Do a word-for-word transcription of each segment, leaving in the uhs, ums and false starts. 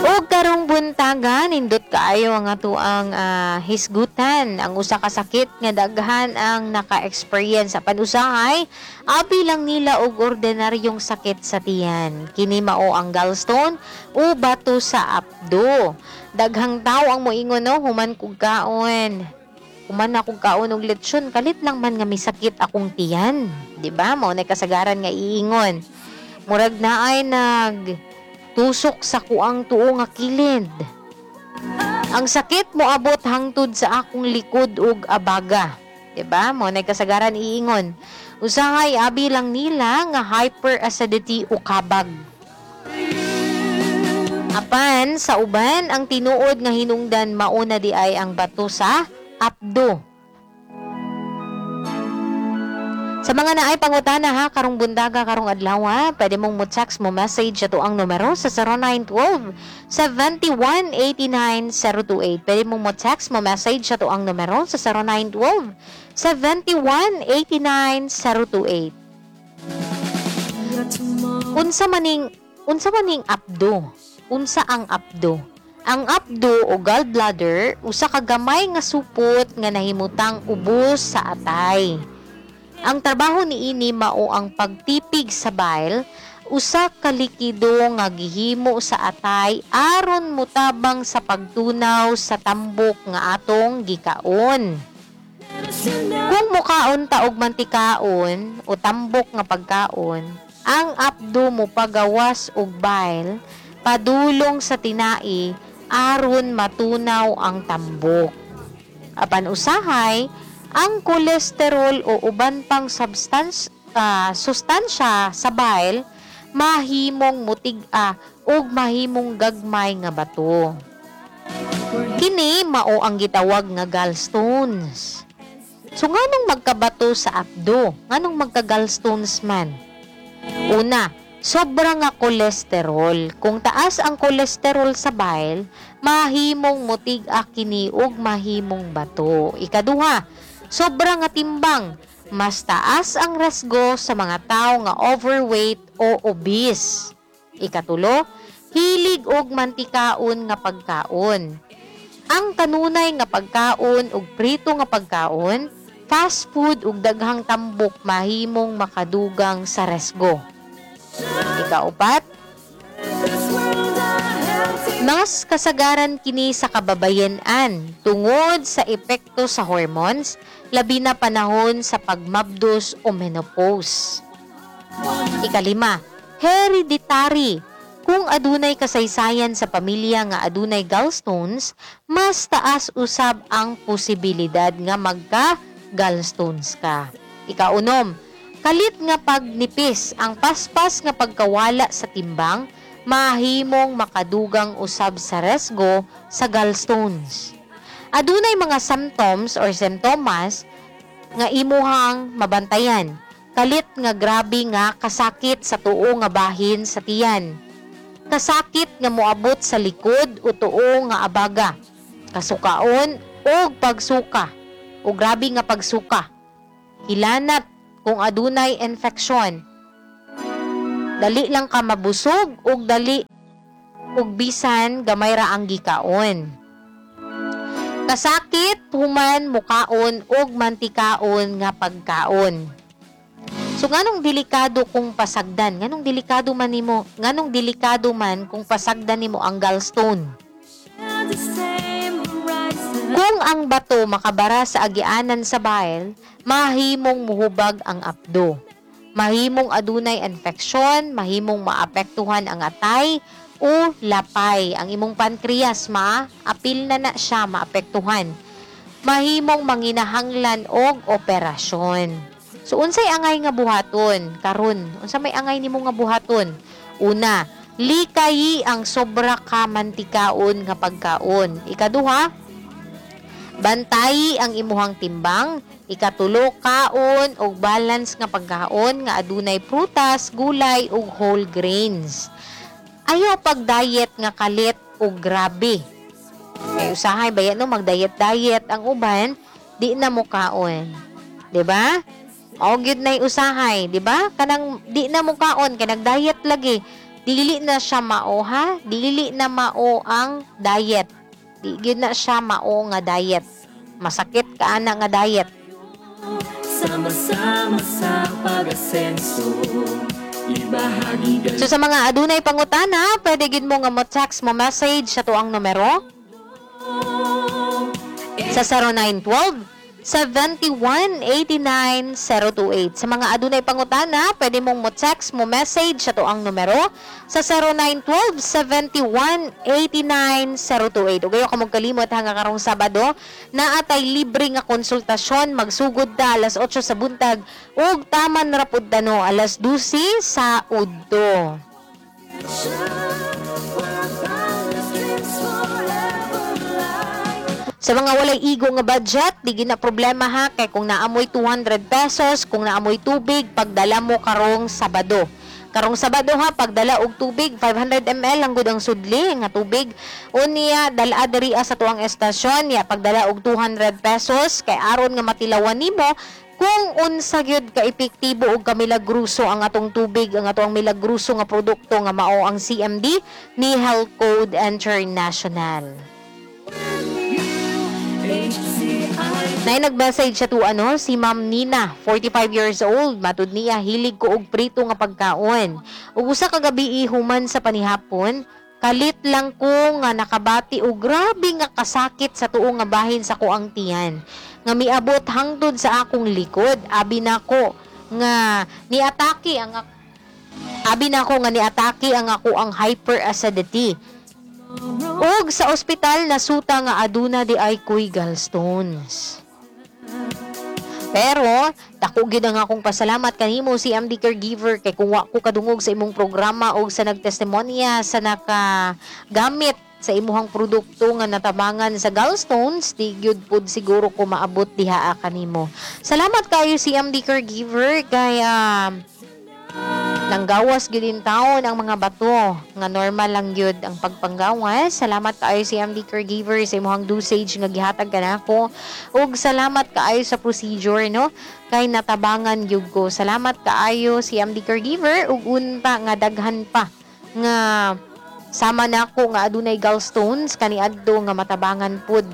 Og karong buntaga, nindot kaayo ang atoang ah, hisgutan ang usa ka sakit nga daghan ang naka-experience. Apan usahay abi lang nila og ordinaryong sakit sa tiyan. Kini mao ang gallstone o bato sa apdo. Daghang tao ang moingon, no, "Human kog kaon, human akong kaon og lechon, kalit lang man nga misakit akong tiyan." Di ba? Mao na kasagaran nga iingon. "Murag naay nag tusok sa kuang tuo nga kilid. Ang sakit moabot hangtod sa akong likod ug abaga." 'Di ba? Mao na kasagaran iingon. Usahay abi lang nila nga hyperacidity o kabag. Apan sa uban, ang tinuod nga hinungdan mao na diay ang bato sa apdo. Sa mga naay pangutana ha, karong buntaga, karong adlaw, ha, pwede mong mo text, mo message ato ang numero sa zero nine one two seven one eight nine zero two eight. Pwede mong mo text, mo message ato ang numero sa zero nine one two seven one eight nine zero two eight. Unsa maning unsa maning apdo? Unsa ang apdo? Ang apdo o gallbladder, usa ka gamay nga supot nga nahimutang ubos sa atay. Ang trabaho niini mao ang pagtipig sa bile, usa ka likido nga gihimo sa atay aron motabang sa pagtunaw sa tambok nga atong gikaon. Kung mukaon ta og mantikaon o tambok nga pagkaon, ang apdo mo pagawas og bile padulong sa tinai aron matunaw ang tambok. Apan usahay, ang kolesterol o uban pang substance, ah, sustansya sa bile mahimong mutig-a ug mahimong gagmay nga bato. Kini mao ang gitawag nga gallstones. So nganong magkabato sa apdo? Nganong magka-gallstones man? Una, sobra nga kolesterol. Kung taas ang kolesterol sa bile, mahimong mutig-a kini ug mahimong bato. Ikaduha, sobra nga timbang. Mas taas ang resgo sa mga tao nga overweight o obese. Ikatulo, hilig og mantikaon nga pagkaon. Ang kanunay nga pagkaon ug prito nga pagkaon, fast food ug daghang tambok mahimong makadugang sa resgo. Ikaupat, mas kasagaran kini sa kababayen-an tungod sa epekto sa hormones, labi na panahon sa pagmabdos o menopause. Ikalima, hereditary. Kung adunay kasaysayan sa pamilya nga adunay gallstones, mas taas usab ang posibilidad nga magka gallstones ka. Ikaunom, kalit nga pagnipis. Ang paspas nga pagkawala sa timbang mahimong makadugang usab sa resgo sa gallstones. Adunay mga symptoms or simptomas nga imuhang mabantayan. Kalit nga grabe nga kasakit sa tuo nga bahin sa tiyan. Kasakit nga moabot sa likod o tuo nga abaga. Kasukaon o pagsuka o grabe nga pagsuka. Hilanat kung adunay infeksyon. Dali lang ka mabusog ug dali ug bisan gamay ra ang gikaon. Kasakit human mukaon og mantikaon nga pagkaon. So nganong delikado kung pasagdan? Nganong delikado man nimo? Nganong delikado man kung pasagdan nimo ang gallstone? Kung ang bato makabara sa agianan sa bile, mahimong muhubag ang apdo. Mahimong adunay infeksyon, mahimong maapektuhan ang atay o lapay. Ang imong pancreas ma-apil na na siya, maapektuhan. Mahimong manginahanglan og operasyon. So unsay angay nga buhaton karon? Unsa may angay nimo nga buhaton? Una, likayi ang sobra ka mantikaon nga pagkaon. Ikaduha, bantayi ang imuhang timbang. Ikatulo, kaon og balance nga pagkaon nga adunay prutas, gulay ug whole grains. Ayaw pag-diet nga kalit og grabe. Kay usahay baya no, mag-diet-diet ang uban, di na mo kaon. 'Di ba? Mao gyud nay usahay, di ba? Kanang di na mo kaon kay nag-diet lagi. Dili na siya mao ha, dili na mao ang diet. Di gyud na siya mao nga diet. Masakit ka ana nga diet. Sama-sama sa pag-asenso, ibahagi So sa mga adunay pangutana, pwede gid mo nga mo text, mo message sa tuang numero sa zero nine one two seven one eight nine zero two eight. Sa mga adunay pangutana, pwede mong mo text, mo message sa tuang numero sa zero nine one two seven one eight nine zero two eight. Ug ayaw ka kalimot ha nga karong Sabado, naa tay libre nga konsultasyon, magsugod ta alas otso sa buntag ug taman ra pud ta no alas dose sa udto. Where boundless dreams forever lie. Sa mga walay igo nga budget, di gina problema ha, kay kung naamoy two hundred pesos, kung naamoy tubig, pagdala mo karong Sabado. Karong Sabado ha, pagdala og tubig, five hundred milliliters lang gud ang sudli nga tubig. Unya, dala diri sa tuang estasyon, ya pagdala og two hundred pesos kay aron nga matilawan nimo kung unsa gyud ka epektibo og kamilagruso ang atong tubig, ang atong milagruso nga produkto nga mao ang C M D ni Health Code International. H C I Nay nag-message sa tu ano si Ma'am Nina, forty-five years old. Matud niya, hilig ko og prito nga pagkaon. Ug usa ka gabi human sa panihapon, kalit lang ko nga nakabati og grabe nga kasakit sa tuo nga bahin sa kuang tiyan nga miabot hangtod sa akong likod. Abi nako nga niatake ang ak- Abi nako nga niatake ang ako ang hyperacidity. Ug sa ospital nasuta nga aduna di ay koy gallstones. Pero dako gyud ang akong pasalamat kanimo, C M D caregiver, kay kung wa ko kadungog sa imong programa og sa nagtestimonya sa nakagamit sa imuhang produkto nga natabangan sa gallstones, di gyud pud siguro ko maabot diha kanimo. Salamat kayo, C M D caregiver, kay ah, nanggawas gyud in taon ang mga bato nga normal lang gyud ang pagpanggawas. Salamat kaayo, C M D caregiver, sa imong dosage nga gihatag kanako ug salamat kaayo sa procedure no kay natabangan gyud ko. Salamat kaayo, C M D caregiver, ug unta nga daghan pa nga sama nako nga adunay gallstones kaniadto nga matabangan pud.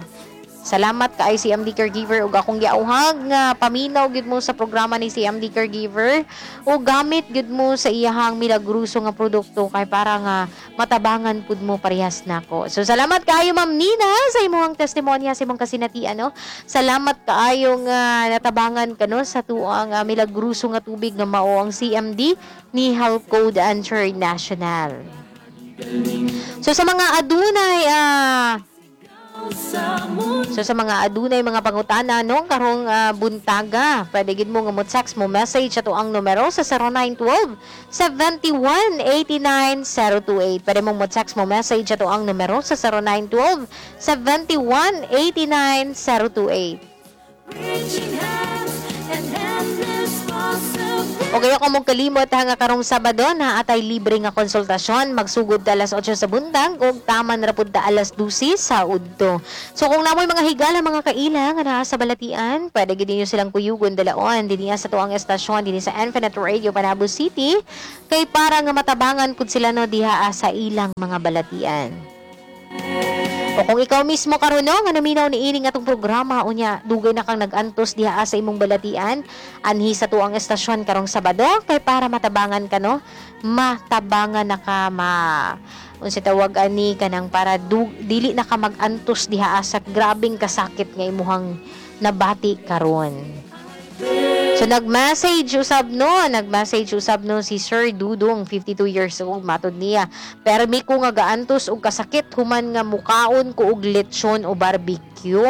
Salamat kay C M D Caregiver ug akong giauhag nga paminaw gyud mo sa programa ni C M D Caregiver o gamit gyud mo sa iyahang milagruso nga produkto kay para nga matabangan pud mo parehas nako. So salamat kaayo, Ma'am Nina, sa imong testimonya, sa imong kasinatian no. Salamat kaayo nga natabangan ka no sa tuang uh, milagruso nga tubig nga mao ang C M D ni Health Code International. So sa mga adunay ah So sa mga adunay mga pangutana no karong ah, buntaga, pwede gid mo nga mo text, mo message ato ang numero sa zero nine one two seven one eight nine zero two eight. Pwede mo mo text, mo message ato ang numero sa zero nine one two seven one eight nine zero two eight. Reaching hands and endless possibilities. O kaya kung kalimot ha nga karong Sabado na atay libre nga konsultasyon, magsugod ta alas otso sa buntag ug taman ra pud ta alas dose sa udto. So kung namoy mga higala, mga kaila nga naa sa balatian, pwede gid ninyo silang kuyugon dalaon dinhi sa tuang estasyon dinhi sa Infinite Radio Panabo City kay para nga matabangan pud sila no diha sa ilang mga balatian. O kung ikaw mismo karon no nga naminaw ni ining atong programa, unya dugay na kang nag-antos diha sa imong balatian, anhi sa tuang estasyon karong Sabado kay para matabangan ka no, matabangan na ka, ma unsa tawag ani, kanang para du, dili na ka mag-antos diha sa grabeng kasakit nga imuhang nabati karon. So nag-message usab no, nag-message usab no si Sir Dudong, fifty-two years old. Matod niya, permi ko nga gaantos og kasakit human nga mukaon ko og lechon o barbecue.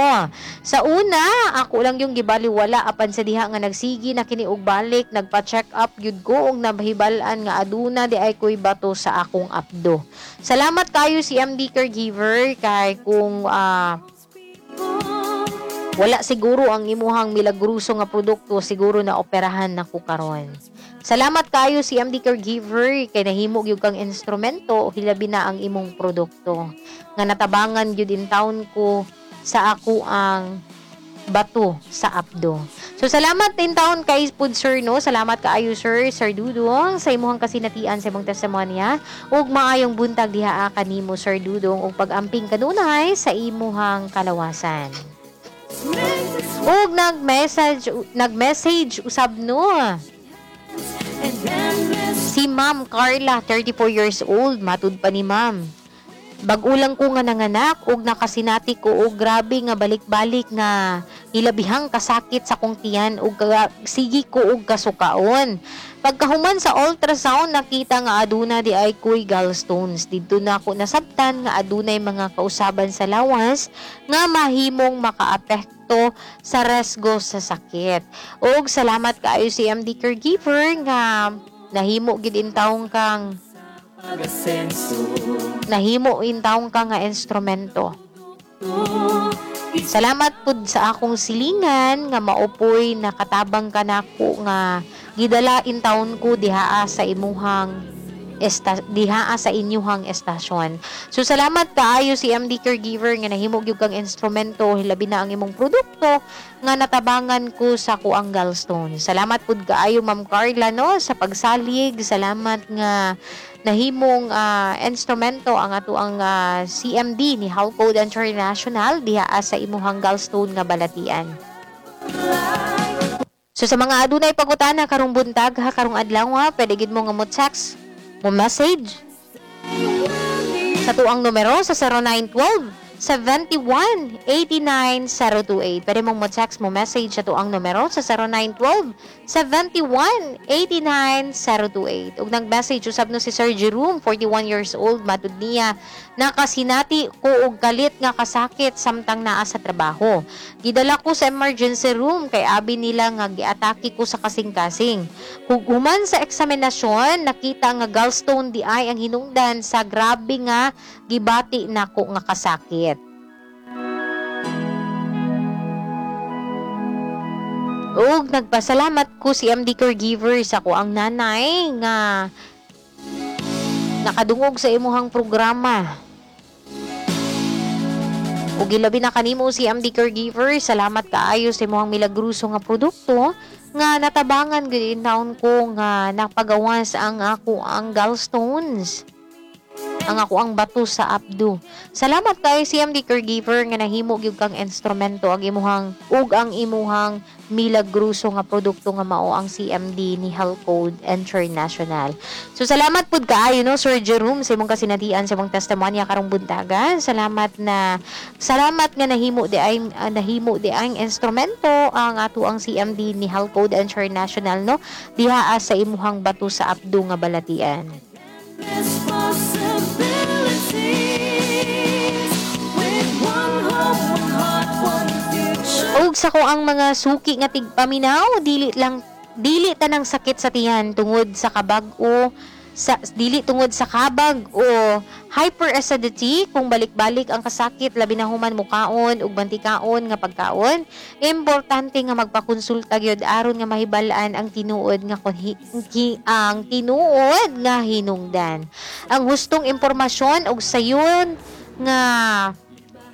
Sa una, ako lang yung gibaliwala, apan sa diha nga nagsigi na kini og balik, nagpa-check up gyud ko og nabahibal-an nga aduna di ay koy bato sa akong apdo. Salamat kayo, C M D caregiver, kay kung ah, wala siguro ang imuhang milagruso nga produkto, siguro na operahan na ko karon. Salamat kayo, C M D caregiver, kay nahimo gyud kang instrumento, hilabi na ang imong produkto nga natabangan gyud in town ko sa ako ang Bato sa apdo. So salamat intawon kay pud, sir, no. Salamat kaayo, sir, Sir Dudong, sa imuhang kasinatian, sa imong testimonya, ug maayong buntag diha kanimo, Sir Dudong, ug pag-amping kanunay sa imuhang kalawasan. Ug nag-message nag-message usab no si Ma'am Carla, thirty-four years old, matud pa ni Ma'am. Bag-o lang ko nga nanganak ug nakasinati ko og grabe nga balik-balik nga ilabihang kasakit sa kong tiyan ug sige ko og kasukaon. Pagkahuman sa ultrasound, nakita nga aduna di ay koy gallstones. Didto na ako nasabtan nga adunay mga kausaban sa lawas nga mahimong makaapekto sa resgo sa sakit. Ug salamat kaayo C M D caregiver nga nahimo gid intawon kang nahimo intawon ka nga instrumento. Salamat pud sa akong silingan nga maupoy nakatabang kanako nga gidala intawon ko dihaa sa imuhang esta, dihaa sa inyuhang estasyon. So salamat kaayo C M D caregiver nga nahimo gyud kang instrumento, hilabi na ang imong produkto nga natabangan ko sa kuang gallstone. Salamat pud kaayo, Ma'am Carla, no, sa pagsalig. Salamat nga nahimong uh, instrumento ang atoang uh, C M D ni Health Code International diha sa imuhang gallstone nga balatian. So sa mga adunay pangutana karong buntag ha, karong adlaw ha, pwede gid mo nga mo text, mo message sa tuang numero sa zero nine one two seven one eight nine zero two eight. Pwede mong mo text, mo message sa tuang numero sa zero nine one two seven one eight nine zero two eight. Ug nag-message usab no si Sir Jerome, forty-one years old, matud niya, nakasinati ko og kalit nga kasakit samtang naa sa trabaho. Gidala ko sa emergency room kay abi nila nga giatake ko sa kasing-kasing. Human sa eksaminasyon, nakita nga gallstone di ay ang hinungdan sa grabe nga gibati nako nga kasakit. Ug nagpasalamat ko C M D caregiver sa ko ang nanay nga nakadungog sa imuhang programa. Ug ilabi na kanimo, C M D caregiver, salamat kaayo sa imuhang milagroso nga produkto nga natabangan gud intawon ko nga napagawas ang ako ang gallstones, ang ako ang bato sa apdo. Salamat kay C M D caregiver nga nahimo gyud kang instrumento ang imuhang ug ang imuhang milagroso nga produkto nga mao ang C M D ni Health Code International. So salamat pud kaayo no, Sir Jerome, sa imong kasinatian, sa imong testimonya karong buntaga. Salamat na salamat nga nahimo di ay uh, nahimo di ang instrumento ang ato ang C M D ni Health Code International no diha sa imuhang bato sa apdo nga balatian. Possibilities with one hope, one heart, one future. Ug sa ko ang mga suki nga tigpaminaw, dili lang dili tanang sakit sa tiyan tungod sa kabag o sa dili tungod sa kabag o hyperacidity. Kung balik-balik ang kasakit, labi na human mukaon ug bantikaon nga pagkaon, importante nga magpakonsulta gyud aron nga mahibal-an ang tinuod nga kun- ki, ang tinuod nga hinungdan. Ang hustong impormasyon ug sayon nga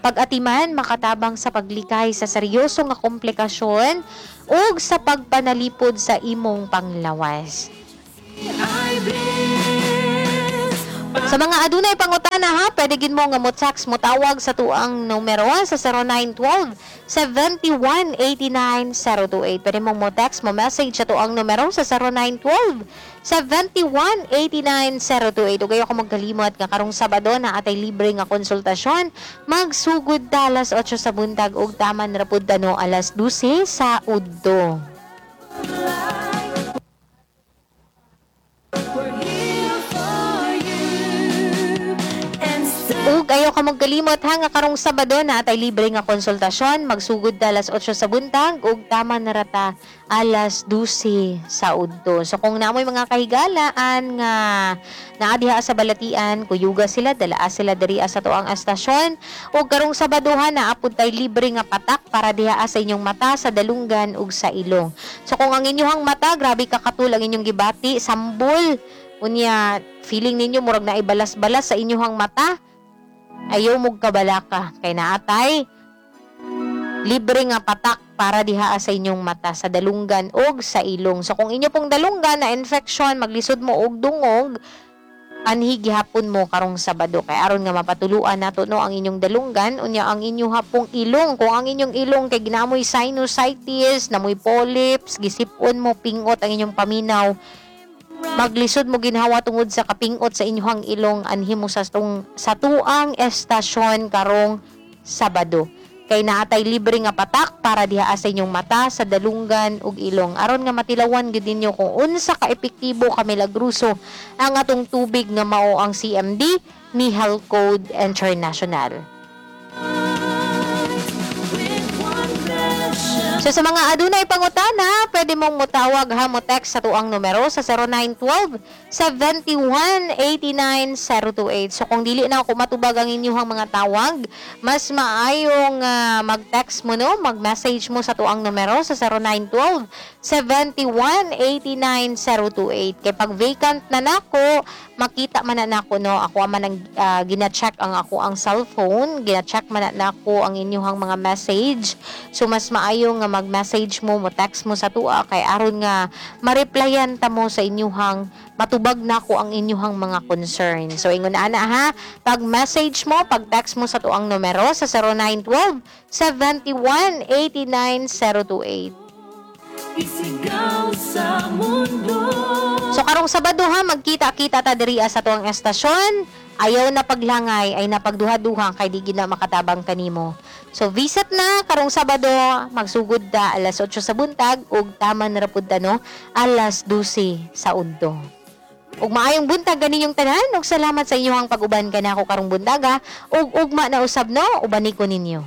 pag-atiman makatabang sa paglikay sa seryoso nga komplikasyon ug sa pagpanalipod sa imong panglawas. I bliss. Sa mga adunay pangutana ha, pwede gid mo nga mo text, mo tawag sa tuang numero sa zero nine one two seven one eight nine zero two eight. Pwede mong mo text, mo message sa tuang numero sa zero nine one two seven one eight nine zero two eight. Ug ayaw ka magkalimot nga karong Sabado na atay libre nga konsultasyon. Magsugod ta alas otso sa buntag ug taman ra pud ta no alas dose sa udto. We're here for you. And still Ug ayaw ka magkalimot ha nga karong Sabado na atay libre nga konsultasyon, magsugod ta alas otso sa buntag ug tama na rata alas dose sa udto. So kung namoy mga kahigalaan nga naa diha sa balatian, kuyuga sila, dalaa sila diri sa tuang estasyon. Ug karong Sabado ha, naa pud tay libre nga patak para diha sa inyong mata, sa dalunggan ug sa ilong. So kung ang inyong mata grabe ka katul ang inyong gibati, sambol, unya feeling ninyo murag naibalas-balas sa inyong mata, ayaw mo kabalaka kay naatay libre nga patak. Para diha sa inyong mata, sa dalunggan og sa ilong. So kung inyo pong dalunggan na infection, maglisod mo og dungog, anhi gihapon mo karong Sabado kay aron nga mapatuluan nato, no, ang inyong dalunggan. Unya ang inyong hapong ilong, kung ang inyong ilong kay ginamoy sinusitis, namoy polyps, gisip-on mo, pingot ang inyong paminaw, maglisod mo ginhawa tungod sa kapingot sa inyong ilong, anhi mo sa tung sa tuang estasyon karong Sabado kay naatay libre nga patak para diha sa inyong mata, sa dalunggan ug ilong, aron nga matilawan gyud ninyo kung unsa ka epektibo, ka milagroso ang atong tubig nga mao ang C M D ni Health Code International. With one vision. So sa mga adunay pangutana, pwede mong motawag ha, mo text sa tuang numero sa zero nine one two seven one eight nine zero two eight. So kung dili na ako matubag ang inyong mga tawag, mas maayong ah, mag-text mo, no, mag-message mo sa tuang numero sa zero nine one two seven one eight nine zero two eight. Kay pag vacant na nako, makita man na nako, no, ako man ang ah, gina-check ang ako ang cellphone, gina-check man na nako ang inyong mga message. So mas maayo nga mag-message mo, mo text mo sa tua kay aron nga ma-replyan ta mo sa inyuhang matubag nako ang inyuhang mga concern. So ingon ana ha, pag message mo, pag text mo sa tuang numero sa zero nine one two seven one eight nine zero two eight. Isigaw sa mundo. So karong Sabado ha, magkita-kita ta diri sa tuang estasyon. Ayaw na paglangay, ay na pagduha-duha kay di gid na makatabang kanimo. So visit na karong Sabado, magsugod ta alas otso sa buntag ug taman ra pud ta, no, alas dose sa udto. Ug maayong buntag kaninyong tanan ug salamat sa inyong pag-uban kanako karong buntaga ug ugma na usab, no, ubani ko ninyo.